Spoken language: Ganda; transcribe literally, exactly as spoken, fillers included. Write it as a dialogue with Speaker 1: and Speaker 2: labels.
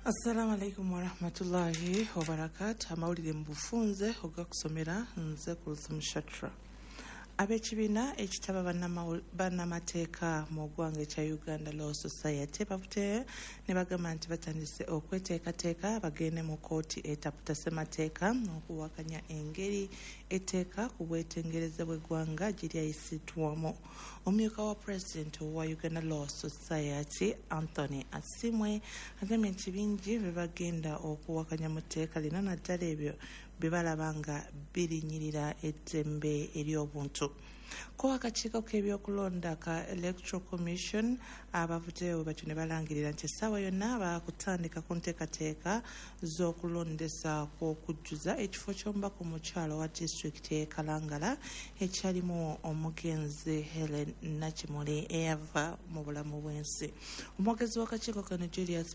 Speaker 1: Assalamu alaikum warahmatullahi wabarakatu. Amawulire mu bufunze ogakusomera nze Kulthum Shatra. Ab'ekibiina ekitaba bannamateeka mu ggwanga ekya Uganda Law Society bavuddeyo ne bagamba nti batandise okweteekateeka bagende mu kkooti etaputa ssemateeka okuwakanya engeri etteeka ku bwetengereze bw'eggwanga gye lyayisiddwamu. Omumyuka wa pulezidenti owa Uganda Law Society, Anthony Asimwe, agambye nti bingi bye bagenda okuwakanya mu tteeka lino, naddala ebyo bye balaba nga birinyirira eddembe ery'obuntu. Ko akakiiko k'ebyokulonda ka Electoral Commission abavuddeyo batyo ne balangirira nti essaawa yonna baakutandika ku nteekateeka z'okulondesa kw'okujjuza ekifo ky'omubaka omukyala wa disitulikiti y'e Kalangala ekyalimu omugenzi Helen Nakimuli eyava mu bulamu bw'ensi. Omwogezi w'akakiiko kano, Julius